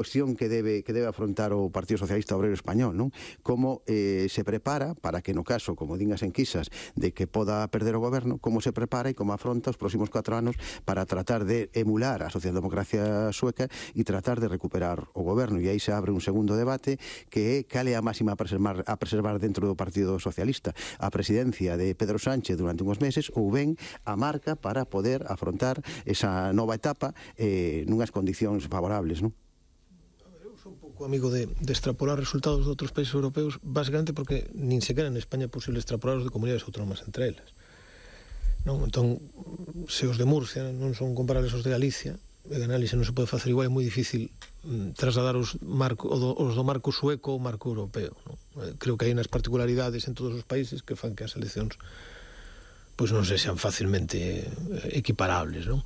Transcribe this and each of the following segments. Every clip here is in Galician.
cuestión que debe afrontar o Partido Socialista Obreiro Español, non? Como se prepara para que no caso, como din as enquisas, de que poda perder o goberno, como se prepara e como afronta os próximos 4 anos para tratar de emular a socialdemocracia sueca e tratar de recuperar o goberno. E aí se abre un segundo debate que é cal é a máxima a preservar dentro do Partido Socialista, a presidencia de Pedro Sánchez durante uns meses ou ben a marca para poder afrontar esa nova etapa nunhas condicións favorables, non? Un pouco amigo de extrapolar resultados de outros países europeos, basicamente porque nin sequera en España é posible extrapolar os de comunidades autónomas entre elas, non? Entón, se os de Murcia non son comparables aos de Galicia, en análise non se pode facer igual, é moi difícil trasladar os do marco sueco ao marco europeo, non? Creo que hai unas particularidades en todos os países que fan que as eleccións pois non se sean facilmente equiparables, non?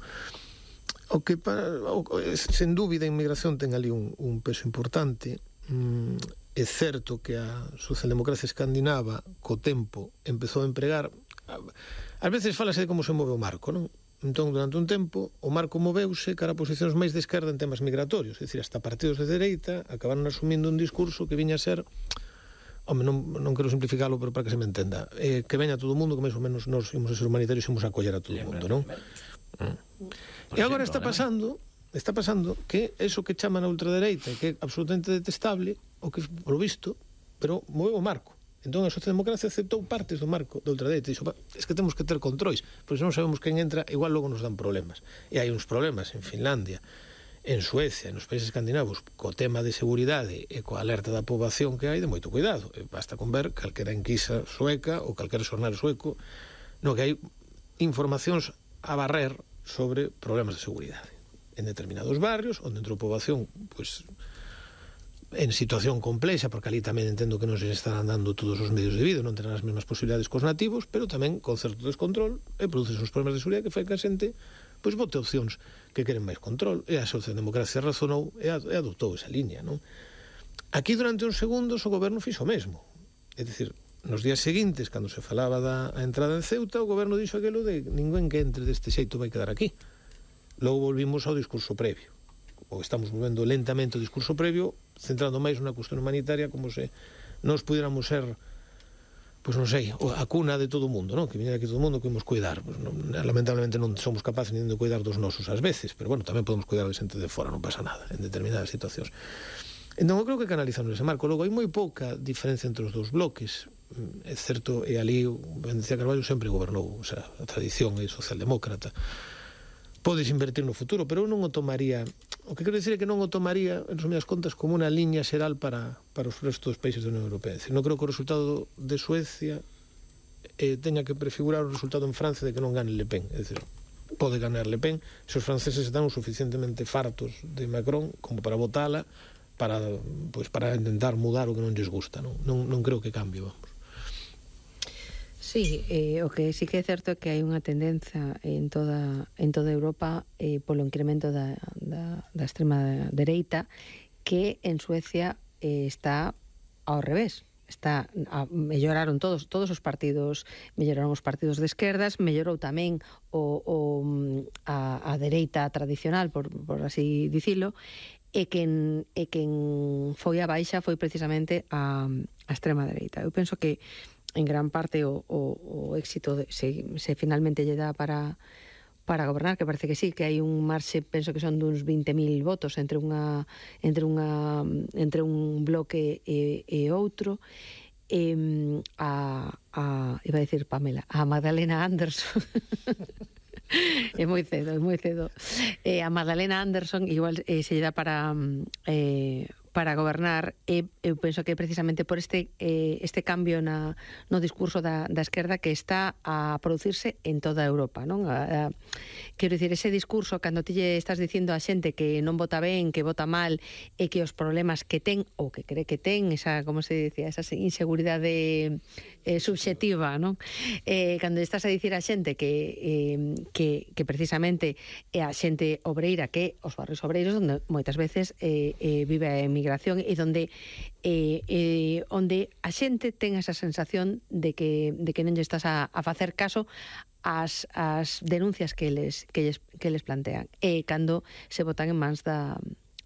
Sen dúbida a inmigración ten ali un peso importante. É certo que a socialdemocracia escandinava co tempo empezou a empregar, ás veces falase de como se move o marco, non? Entón, durante un tempo, o marco moveuse cara a posicións máis de esquerda en temas migratorios, é dicir, hasta partidos de dereita acabaron asumindo un discurso que viña a ser, non quero simplificalo, pero para que se me entenda, que veña todo o mundo, que máis ou menos nos imos a ser humanitarios e imos a acoller a todo o mundo, non? E agora está pasando que eso que chaman a ultradereita, que é absolutamente detestable, o que, polo visto, pero moveu o marco. Entón a socialdemocracia aceptou partes do marco da ultradereita e dixo, es que temos que ter controis, porque se non sabemos quen entra, igual logo nos dan problemas. E hai uns problemas en Finlandia, en Suecia, nos países escandinavos, co tema de seguridade e coa alerta da poboación que hai, de moito cuidado. Basta con ver calquera enquisa sueca ou calquera xornal sueco, no que hai informacións a barrer sobre problemas de seguridade en determinados barrios onde entrou poboación pois en situación complexa, porque ali tamén entendo que non se estarán dando todos os medios de vida, non terán as mesmas posibilidades cos nativos, pero tamén con certo descontrol e produces uns problemas de seguridade que fai que a xente pois vote opcións que queren máis control, e a socialdemocracia razonou e adoptou esa liña, non? Aquí durante uns segundos o goberno fixo o mesmo, é dicir, nos días seguintes, cando se falaba da entrada en Ceuta, o goberno dixo aquilo de ninguén que entre deste xeito vai quedar aquí. Logo volvimos ao discurso previo. Ou estamos volvendo lentamente ao discurso previo, centrando máis na cuestión humanitaria, como se nos pudiéramos ser, pois non sei, a cuna de todo o mundo, non? Que viñera aquí todo o mundo que imos cuidar. Pues, lamentablemente non somos capaces nin de cuidar dos nosos ás veces, pero bueno, tamén podemos cuidar de xente de fora, non pasa nada, en determinadas situacións. Entón, eu creo que canalizamos ese marco. Logo, hai moi pouca diferencia entre os dous bloques. É certo, e ali Benedicía Carballo sempre gobernou, o sea, a tradición é socialdemócrata. Podes invertir no futuro, pero eu non o tomaría, o que quero dicir é que non o tomaría, en resumidas contas, como unha liña xeral para os restos dos países da Unión Europea. É dicir, non creo que o resultado de Suecia teña que prefigurar o resultado en Francia de que non gane Le Pen. É dicir, pode ganar Le Pen se os franceses están o suficientemente fartos de Macron como para votala, para intentar mudar o que non lles gusta, non creo que cambie, vamos. Sí, o que sí que é certo é que hai unha tendencia en toda Europa polo incremento da extrema dereita, que en Suecia está ao revés. Melloraron todos os partidos, melloraron os partidos de esquerdas, mellorou tamén a dereita tradicional, por así dicilo, e quen foi a baixa foi precisamente a extrema dereita. Eu penso que en gran parte o éxito se finalmente lle dá para gobernar, que parece que sí, que hai un marxe, penso que son duns 20.000 votos entre un bloque e outro. Iba a decir Pamela, a Magdalena Andersson é moi cedo a Magdalena Andersson igual se lle dá para gobernar. Eu penso que precisamente por este cambio no discurso da esquerda que está a producirse en toda Europa, non? Quero dicir, ese discurso cando ti lle estás dicindo a xente que non vota ben, que vota mal e que os problemas que ten ou que cree que ten, esa, como se dicía, esa inseguridade subxetiva, non? Cando estás a dicir a xente que precisamente é a xente obreira, que os barrios obreiros onde moitas veces vive a emigración e onde a xente ten esa sensación de que non lle estás a facer caso as denuncias que les plantean, e cando se botan en mans da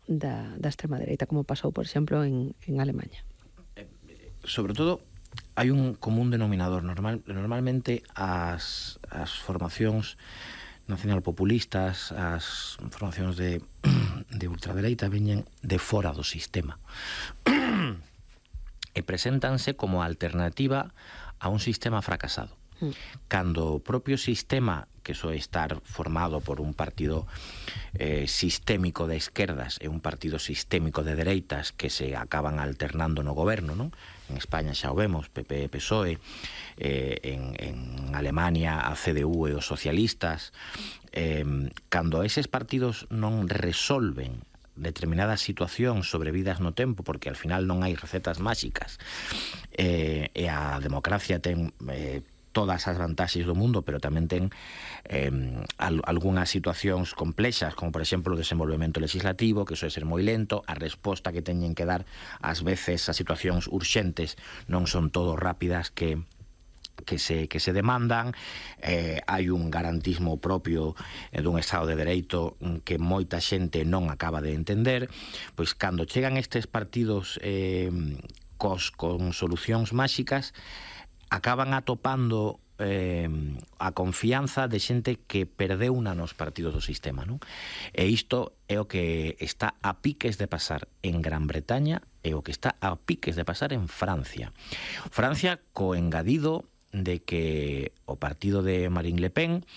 da extrema dereita, como pasou, por exemplo, en Alemanha. Sobre todo, hai un común denominador. Normalmente as formacións nacionalpopulistas, as formacións de ultradereita veñen de fora do sistema e preséntanse como alternativa a un sistema fracasado. Cando o propio sistema, que soe estar formado por un partido sistémico de esquerdas e un partido sistémico de dereitas que se acaban alternando no goberno, non? En España xa o vemos, PP e PSOE, en Alemania a CDU e os socialistas. Cando eses partidos non resolven determinadas situacións sobrevidas no tempo, porque al final non hai recetas máxicas, e a democracia ten todas as vantaxes do mundo, pero tamén ten algunhas situacións complexas, como por exemplo o desenvolvemento legislativo, que soe ser moi lento, a resposta que teñen que dar ás veces a situacións urxentes non son todo rápidas que se demandan. Hai un garantismo propio dun Estado de Dereito que moita xente non acaba de entender. Pois cando chegan estes partidos con solucións máxicas, acaban atopando a confianza de xente que perdeu nos partidos do sistema, non? E isto é o que está a piques de pasar en Gran Bretaña e o que está a piques de pasar en Francia. Francia, co engadido de que o partido de Marine Le Pen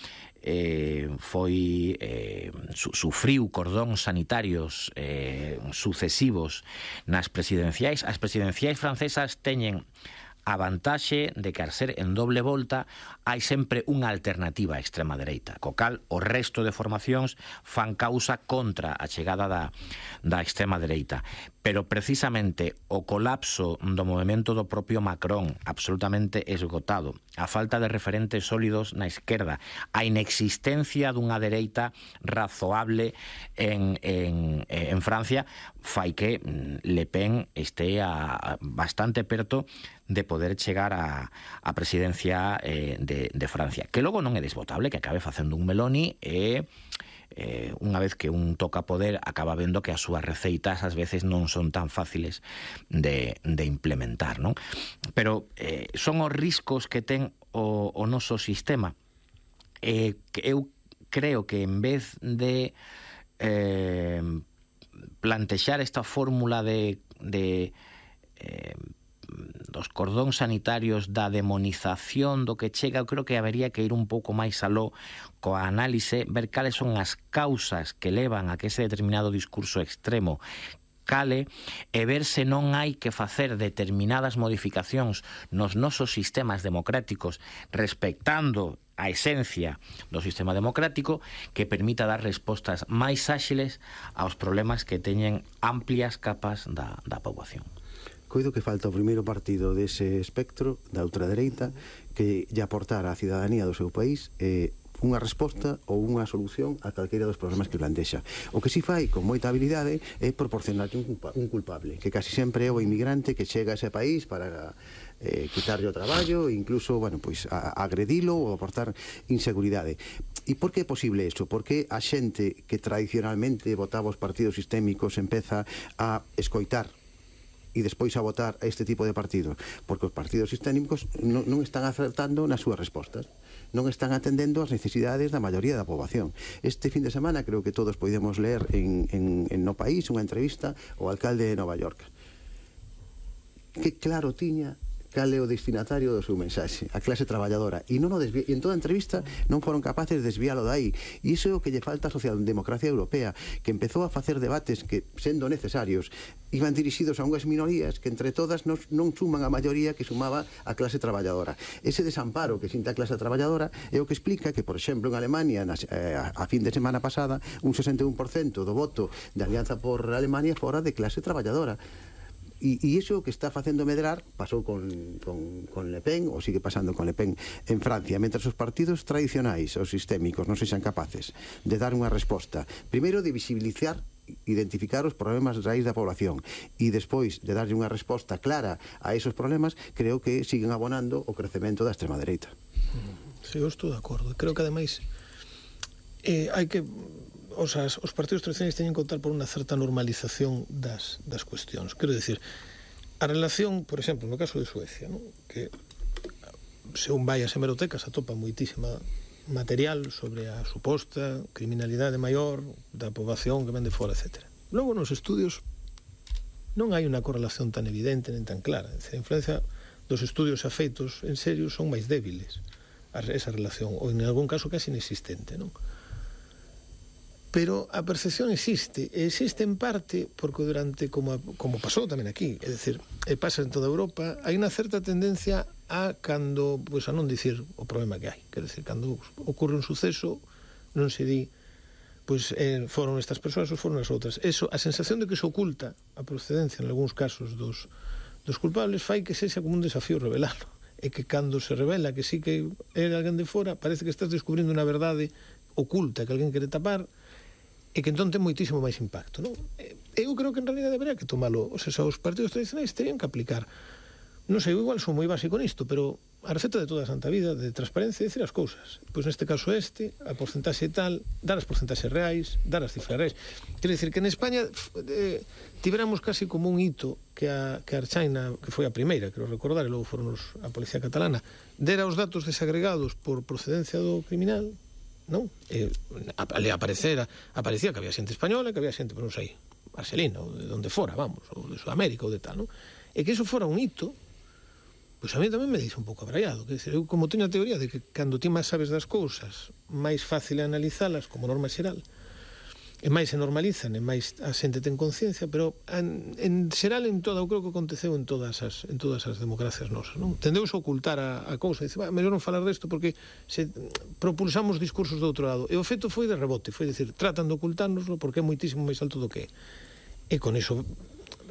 sufriu cordóns sanitarios sucesivos nas presidenciais. As presidenciais francesas teñen a vantaxe de que, al ser en doble volta, hai sempre unha alternativa á extrema dereita, co cal o resto de formacións fan causa contra a chegada da extrema dereita. Pero precisamente o colapso do movimento do propio Macron, absolutamente esgotado, a falta de referentes sólidos na esquerda, a inexistencia dunha dereita razoable en Francia, fai que Le Pen este bastante perto de poder chegar a presidencia de Francia, que logo non é desbotable que acabe facendo un Meloni e unha vez que un toca poder acaba vendo que as súas receitas ás veces non son tan fáciles de implementar, non? Pero son os riscos que ten o noso sistema. Eu creo que en vez de plantexar esta fórmula dos cordóns sanitarios, da demonización do que chega, eu creo que habería que ir un pouco máis aló coa análise, ver cales son as causas que levan a que ese determinado discurso extremo cale e ver se non hai que facer determinadas modificacións nos nosos sistemas democráticos respectando a esencia do sistema democrático que permita dar respostas máis áxiles aos problemas que teñen amplias capas da poboación. Coido que falta o primeiro partido dese espectro da ultradereita que lle aportara á cidadanía do seu país unha resposta ou unha solución a calquera dos problemas que plantexa. O que si fai con moita habilidade é proporcionarlle un culpable, que casi sempre é o inmigrante que chega a ese país para quitarlle o traballo e incluso, bueno, pois agredilo ou aportar inseguridade. E por que é posible iso? Porque a xente que tradicionalmente votaba os partidos sistémicos empeza a escoitar e despois a votar a este tipo de partidos, porque os partidos sistémicos non están acertando nas súas respostas, non están atendendo as necesidades da maioría da poboación. Este fin de semana creo que todos podemos ler en No País unha entrevista ao alcalde de Nova York, que claro tiña cal é o destinatario do seu mensaxe, a clase traballadora, e en toda a entrevista non foron capaces de desviálo de aí, e iso é o que lle falta á socialdemocracia europea, que empezou a facer debates que, sendo necesarios, iban dirixidos a unhas minorías que entre todas non suman a maioría que sumaba a clase traballadora. Ese desamparo que sinta a clase traballadora é o que explica que, por exemplo, en Alemania, a fin de semana pasada, un 61% do voto de Alianza por Alemania fora de clase traballadora. E iso que está facendo medrar pasou con Le Pen, ou sigue pasando con Le Pen en Francia, mentre os partidos tradicionais, os sistémicos, non sexan capaces de dar unha resposta, primeiro de visibilizar, identificar os problemas raíz da población e despois de darlle unha resposta clara a esos problemas, creo que siguen abonando o crecemento da extrema dereita. Sí, eu estou de acordo. Creo que ademais hai que os partidos tradicionais teñen que optar por unha certa normalización das cuestións. Quero dicir, a relación, por exemplo, no caso de Suecia, ¿no? Que se un vai ás hemerotecas atopa moitísima material sobre a suposta criminalidade maior da poboación que ven de fora, etc. Logo, nos estudios non hai unha correlación tan evidente nem tan clara. A influencia dos estudios afeitos en serio son máis débiles esa relación, ou en algún caso casi inexistente, non? Pero a percepción existe en parte porque durante, como pasou tamén aquí, é dicir, pasa en toda Europa, hai unha certa tendencia a cando, pois a non dicir o problema que hai, quer dicir, cando ocorre un suceso non se di pois foron estas persoas ou foron as outras. Eso, a sensación de que se oculta a procedencia en algúns casos dos culpables fai que sexa como un desafío revelalo, e que cando se revela que sí que é alguén de fora, parece que estás descubrindo unha verdade oculta que alguén quere tapar, e que entón ten moitísimo máis impacto, non? Eu creo que en realidad debería que tomalo, o sea, os partidos tradicionais terían que aplicar, non sei, igual son moi básico nisto, pero a receta de toda a santa vida de transparencia é dicir as cousas. Pois neste caso a porcentaxe tal, dar as porcentaxes reais, dar as cifras reais. Quero dicir que en España tiveramos casi como un hito que a Archaina, que foi a primeira, quero recordar, e logo foron a Policía Catalana, dera os datos desagregados por procedencia do criminal, non? Aparecía que había xente española, que había xente, non sei, argelina, ou de onde fora, vamos, ou de Sudamérica, ou de tal, non? E que iso fora un hito, pois a mí tamén me deixa un pouco abraiado. Que eu, como teño a teoría de que cando ti máis sabes das cousas, máis fácil é analizalas como norma xeral, e máis se normalizan, e máis a xente ten conciencia, pero en xeral en toda, eu creo que aconteceu en todas as democracias nosas, non? Tendeuse a ocultar a cousa, dice, mellor non falar desto porque se propulsamos discursos do outro lado, e o feito foi de rebote, foi dicir, tratan de ocultárnoslo porque é moitísimo máis alto do que é. E con iso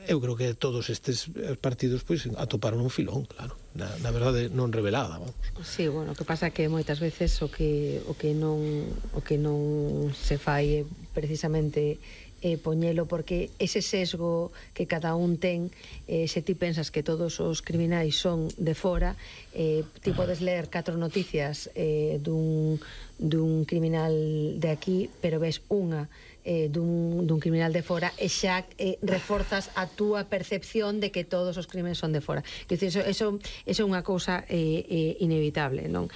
eu creo que todos estes partidos pois atoparon un filón, claro, na verdade non revelada, vamos. Sí, bueno, o que pasa é que moitas veces o que non se fai é precisamente poñelo, porque ese sesgo que cada un ten, se ti pensas que todos os criminais son de fora, ti podes ler 4 noticias dun criminal de aquí, pero ves unha dun criminal de fora e xa reforzas a túa percepción de que todos os crimes son de fora. Eso é unha cousa inevitable, non?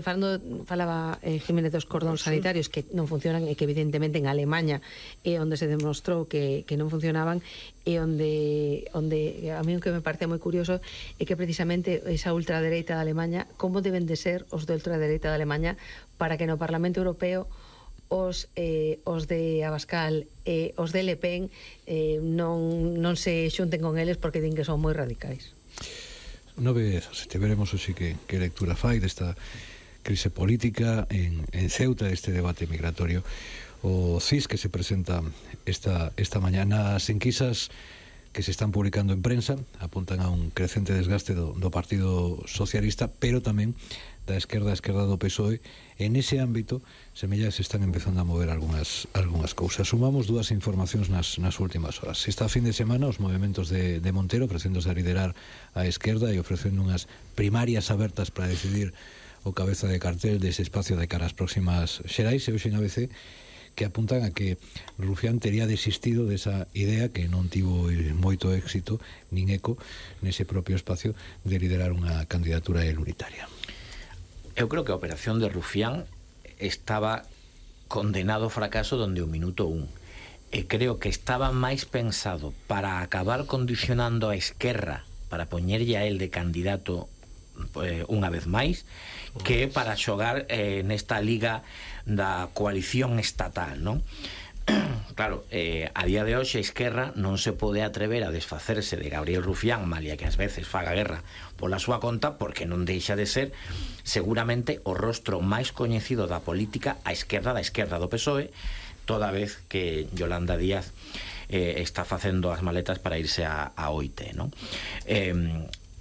Falaba Jiménez dos cordóns sanitarios que non funcionan e que evidentemente en Alemanha é onde se demostrou que non funcionaban, e onde a mí o que me parece moi curioso é que precisamente esa ultradereita de Alemanha, como deben de ser os de ultradereita de Alemanha para que no Parlamento Europeo os de Abascal e os de Le Pen non se xunten con eles porque din que son moi radicais. Unha vez, veremos así que lectura fai desta crise política en Ceuta, este debate migratorio, o CIS que se presenta esta mañana. As enquisas que se están publicando en prensa apuntan a un crecente desgaste do Partido Socialista, pero tamén da esquerda do PSOE. En ese ámbito semella que se están empezando a mover algunhas cousas. Sumamos dúas informacións nas últimas horas. Esta fin de semana os movimentos de Montero ofrecéndose a liderar a esquerda e ofrecendo unhas primarias abertas para decidir o cabeza de cartel dese espacio de cara ás próximas xerais, e hoxe en ABC que apuntan a que Rufián tería desistido desa idea que non tivo moito éxito nin eco nese propio espacio de liderar unha candidatura unitaria. Eu creo que a operación de Rufián estaba condenado ao fracaso donde o minuto 1. E creo que estaba máis pensado para acabar condicionando a Esquerra, para poñerlle a él de candidato unha vez máis, que para xogar nesta liga da coalición estatal, non? Claro, a día de hoxe a Esquerra non se pode atrever a desfacerse de Gabriel Rufián, malia que ás veces faga guerra pola súa conta, porque non deixa de ser seguramente o rostro máis coñecido da política a esquerda da esquerda do PSOE, toda vez que Yolanda Díaz está facendo as maletas para irse a OIT, non?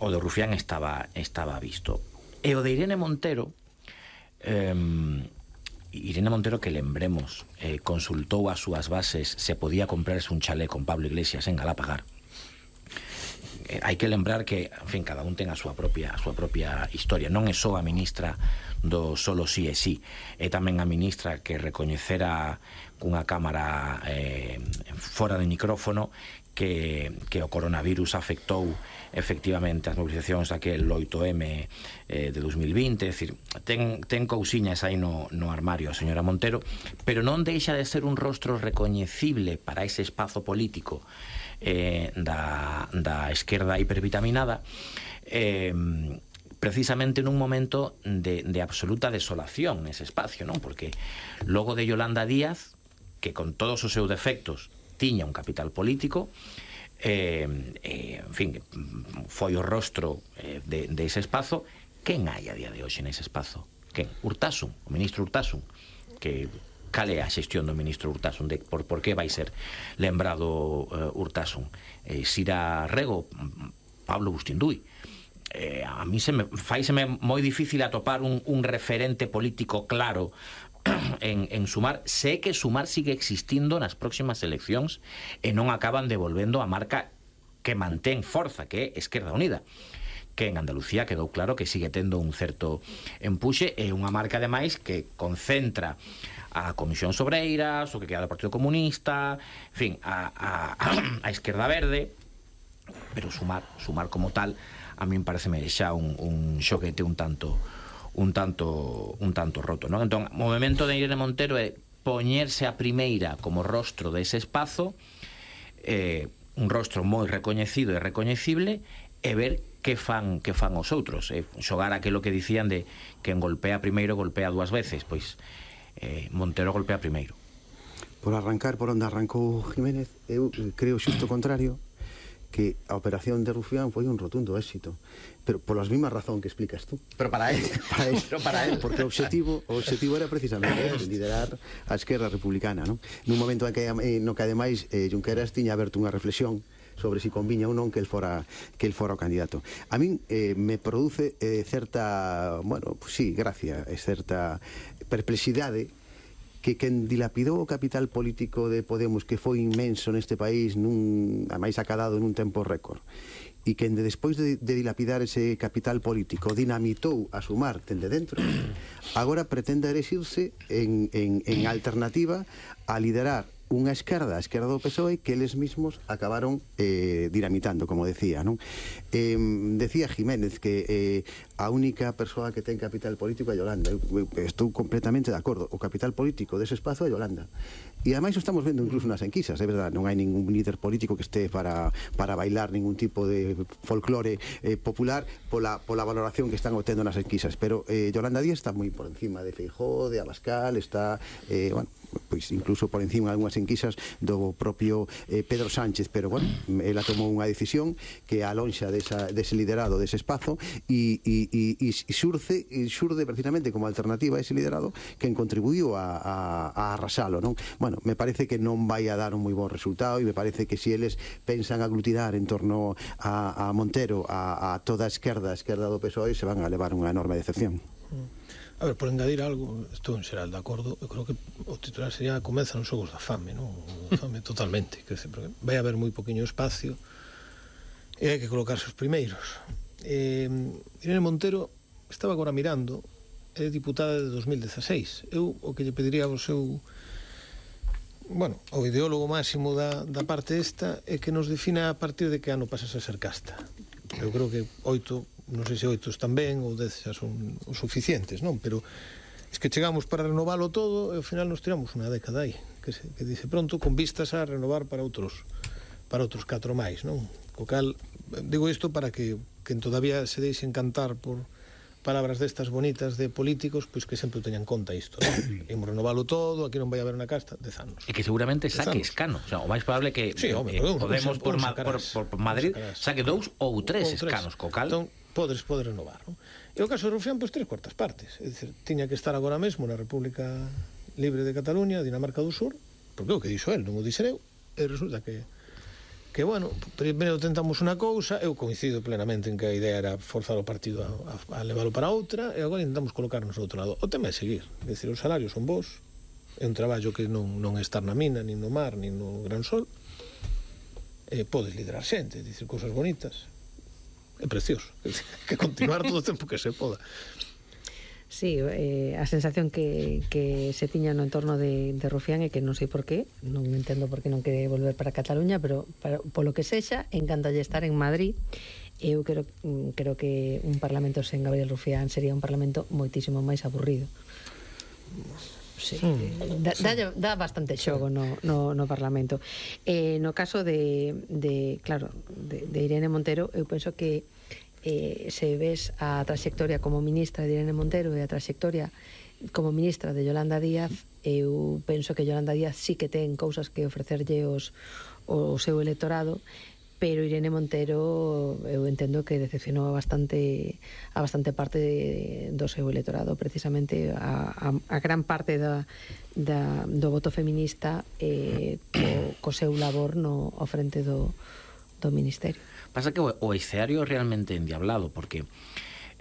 O de Rufián estaba visto. E o de Irene Montero, que lembremos, consultou as súas bases se podía comprarse un chalé con Pablo Iglesias en Galapagar. hai que lembrar que, en fin, cada un ten a súa propia historia. Non é só a ministra do solo sí e sí, é tamén a ministra que recoñecera cunha cámara fora de micrófono que o coronavirus afectou efectivamente as mobilizacións daquel 8M de 2020, é dicir, ten cousiñas aí no armario a señora Montero, pero non deixa de ser un rostro recoñecible para ese espazo político da esquerda hipervitaminada, precisamente nun momento de absoluta desolación nese espacio, non? Porque logo de Yolanda Díaz, que con todos os seus defectos tiña un capital político, en fin, foi o rostro de ese espazo. Quen hai a día de hoxe nese espazo? Quen? Urtasun, o ministro Urtasun, que cal é a xestión do ministro Urtasun, por que vai ser lembrado Urtasun? Sira Rego, Pablo Bustinduy. A mí faiseme moi difícil atopar un referente político claro en Sumar. Sé que Sumar sigue existindo nas próximas eleccións e non acaban devolvendo a marca que mantén forza, que é Esquerda Unida, que en Andalucía quedou claro que sigue tendo un certo empuxe, e unha marca ademais que concentra a Comisión Sobreiras, o que queda do Partido Comunista, en fin, a Esquerda Verde, pero Sumar como tal a min pareceme xa un xoguete un tanto roto, non? Entón, o movemento de Irene Montero é poñerse a primeira como rostro dese espazo, un rostro moi recoñecido e recoñecible, e ver que fan os outros, xogar aquilo que dicían de quen golpea primeiro golpea dúas veces. Pois Montero golpea primeiro. Por arrancar por onde arrancou Jiménez, eu creo xusto o contrario, que a operación de Rufián foi un rotundo éxito, pero polas mesmas razón que explicas tú. Pero para él. Porque o objetivo era precisamente liderar a esquerda republicana, non? Nun momento no que ademais Junqueras tiña aberto unha reflexión sobre si conviña ou non que el fora o candidato. A min me produce certa, bueno, pues sí, gracia, certa perplexidade que quen dilapidou o capital político de Podemos, que foi inmenso neste país, ademais acadado nun tempo récord, e quen despois de dilapidar ese capital político dinamitou a Sumar dende dentro, agora pretende erixirse en alternativa a liderar unha esquerda, a esquerda do PSOE, que eles mismos acabaron dinamitando, como decía, non? Decía Jiménez que a única persoa que ten capital político é Yolanda. Estou completamente de acordo. O capital político dese espazo é Yolanda. E ademais o estamos vendo incluso nas enquisas, é verdade, non hai ningún líder político que este para bailar ningún tipo de folclore popular pola valoración que están obtendo nas enquisas, pero Yolanda Díaz está moi por encima de Feijóo, de Abascal, está, bueno, pois incluso por encima de algunhas enquisas do propio Pedro Sánchez, pero bueno, ela tomou unha decisión que alonxa dese liderado, dese espazo, e xurde precisamente como alternativa a ese liderado quen contribuiu a arrasalo, non? Bueno, me parece que non vai a dar un moi bon resultado, e me parece que se eles pensan aglutinar en torno a Montero, a toda a esquerda do PSOE, se van a levar unha enorme decepción. A ver, por engadir algo, estou en xeral de acordo, eu creo que o titular sería comezan os xogos da fame, non? Fame totalmente, porque vai haber moi poquinho espacio e hai que colocarse os primeiros. Irene Montero estaba agora mirando, é diputada de 2016. Eu o que lle pediría ao seu, bueno, o ideólogo máximo da parte esta é que nos defina a partir de que ano pasas a ser casta. Eu creo que 8, non sei se 8 están ben ou 10 xa son os suficientes, non? Pero es que chegamos para renovalo todo e ao final nos tiramos unha década aí, que dice pronto, con vistas a renovar para outros 4 máis, non? Co cal, digo isto para que todavía se deixe encantar por palabras destas bonitas de políticos, pois que sempre teñan conta isto, non? Imos renovalo todo, aquí non vai haber unha casta, 10 anos. E que seguramente saque escano, o sea, o máis probable que sí, Podemos por Madrid saque 2 ou 3 escanos, co cal entón, podes renovar, non? E o caso de Rufián, pois 3/4 partes, é dicir, tiña que estar agora mesmo na República Libre de Cataluña, Dinamarca do Sur, porque o que dixo el, non o dixen eu, e resulta que bueno, primeiro tentamos unha cousa, eu coincido plenamente en que a idea era forzar o partido a leválo para outra, e agora intentamos colocarnos ao outro lado. O tema é seguir, é dicir, os salarios son bons, é un traballo que non é estar na mina, nin no mar, nin no gran sol, podes liderar xente, é dicir, cousas bonitas, é precioso. Que continuar todo o tempo que se poda. Sí, a sensación que se tiña no entorno de Rufián é que non sei por qué, non entendo por qué non quere volver para Cataluña, pero polo que sexa, encanta estar en Madrid. Eu creo que un parlamento sen Gabriel Rufián sería un parlamento moitísimo máis aburrido. Sí, dá bastante xogo no Parlamento. No caso de Irene Montero, eu penso que se ves a trayectoria como ministra de Irene Montero e a trayectoria como ministra de Yolanda Díaz, eu penso que Yolanda Díaz sí que ten cousas que ofrecerlle o seu electorado, pero Irene Montero eu entendo que decepcionou a bastante parte do seu electorado, precisamente a gran parte do voto feminista co seu labor ao frente do Ministerio. Pasa que o escenario é realmente endiablado, porque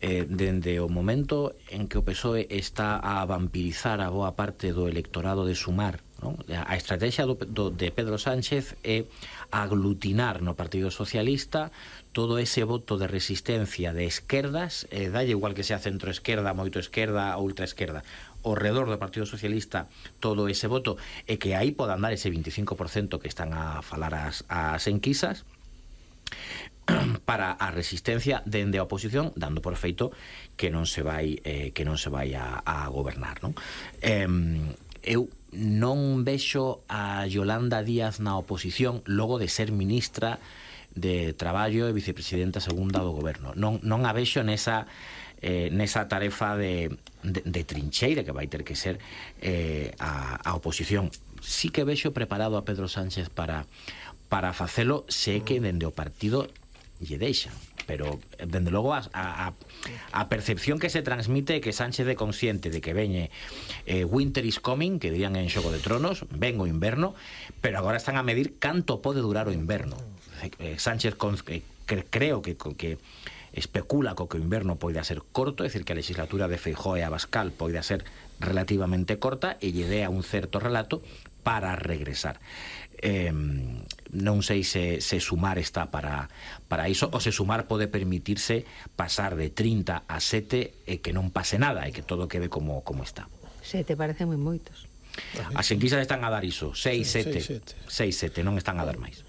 dende o momento en que o PSOE está a vampirizar a boa parte do electorado de Sumar, non? A estrategia de Pedro Sánchez é aglutinar no Partido Socialista todo ese voto de resistencia de esquerdas, dalle igual que sea centro-esquerda, moito esquerda ou ultra-esquerda, ao redor do Partido Socialista todo ese voto, e que aí podan dar ese 25% que están a falar as enquisas, para a resistencia dende a oposición, dando por feito que non se vai a gobernar, non? Eu non vexo a Yolanda Díaz na oposición logo de ser ministra de Traballo e vicepresidenta segunda do goberno. Non a vexo nesa tarefa de trincheira que vai ter que ser a oposición. Sí que vexo preparado a Pedro Sánchez para facelo, sé que dende o partido lle deixan, pero dende logo a percepción que se transmite é que Sánchez é consciente de que veñe winter is coming, que dirían en Xogo de Tronos, ven o inverno, pero agora están a medir canto pode durar o inverno. Sánchez creo que especula co que o inverno poida ser corto, é dicir, que a legislatura de Feijóo e Abascal poida ser relativamente corta e lle dea un certo relato para regresar. Non sei se Sumar está para iso, ou se Sumar pode permitirse pasar de 30 a 7 e que non pase nada e que todo quede como está. 7 parecen moi moitos. As enquisas están a dar iso, 6, 7, non están a dar máis.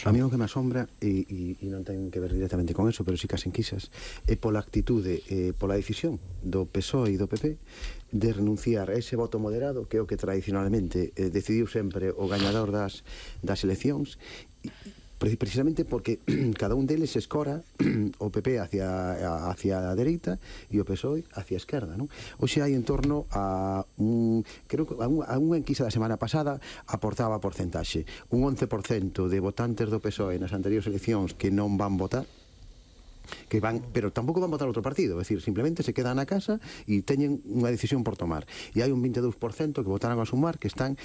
A mí o que me asombra, e non ten que ver directamente con eso, pero sí que as enquisas, é pola actitude, pola decisión do PSOE e do PP de renunciar a ese voto moderado, que é o que tradicionalmente decidiu sempre o gañador das eleccións, precisamente porque cada un deles escora o PP hacia a dereita e o PSOE hacia a esquerda, non? Hoxe hai en torno a creo que a unha enquisa da semana pasada aportaba porcentaxe, un 11% de votantes do PSOE nas anteriores eleccións que non van votar, pero tampouco van votar outro partido, é dicir, simplemente se quedan na casa e teñen unha decisión por tomar, e hai un 22% que votaron a Sumar que están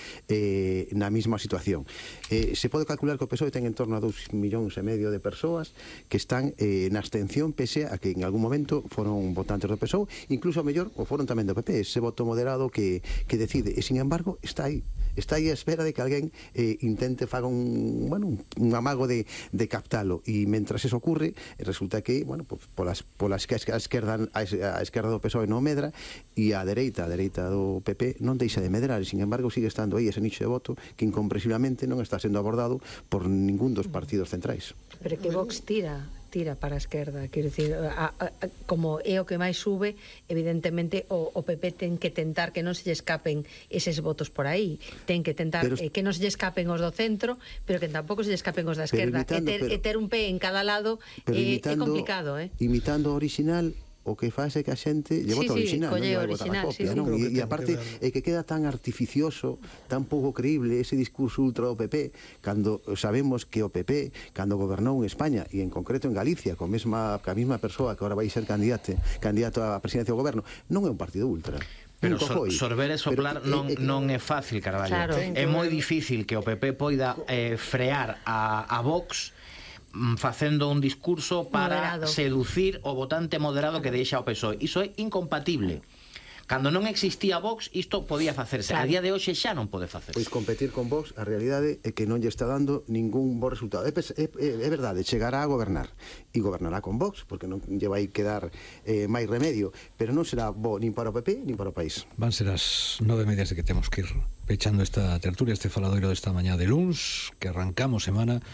na mesma situación. Se pode calcular que o PSOE ten en torno a 2,5 millóns de persoas que están na abstención, pese a que en algún momento foron votantes do PSOE, incluso a mellor o foron tamén do PP, ese voto moderado que decide, e sin embargo está aí a espera de que alguén intente faga un amago de captalo, e mentras eso ocurre resulta que polas que a esquerda do PSOE non medra e a dereita do PP non deixa de medrar, e sin embargo sigue estando aí ese nicho de voto que incomprensiblemente non está sendo abordado por ningún dos partidos centrais. Pero que Vox tira para a esquerda, quero dicir, como é o que máis sube, evidentemente o PP ten que tentar que non se lle escapen eses votos por aí, ten que tentar que non se lle escapen os do centro, pero que tampouco se lle escapen os da esquerda, e ter un pé en cada lado é complicado, imitando o original. O que faz é que a xente lle vota original, non lle vai votar a copia, non? E aparte é que queda tan artificioso, tan pouco creíble ese discurso ultra do PP, cando sabemos que o PP, cando gobernou en España e en concreto en Galicia, ca mesma persoa que agora vai ser candidato á presidencia do goberno, non é un partido ultra. Pero sorber e soplar non é fácil, Carballo. Claro. É moi difícil que o PP poida frear a Vox facendo un discurso para seducir o votante moderado que deixa o PSOE. Iso é incompatible Cando non existía Vox, isto podía facerse. A día de hoxe xa non pode facerse. Pois competir con Vox, a realidade é que non lle está dando ningún bo resultado. É verdade, chegará a gobernar e gobernará con Vox, porque non lle vai quedar máis remedio, pero non será bo nin para o PP nin para o país. Van ser as 9:30 de que temos que ir pechando esta tertulia, este faladoiro desta mañá de luns, que arrancamos semana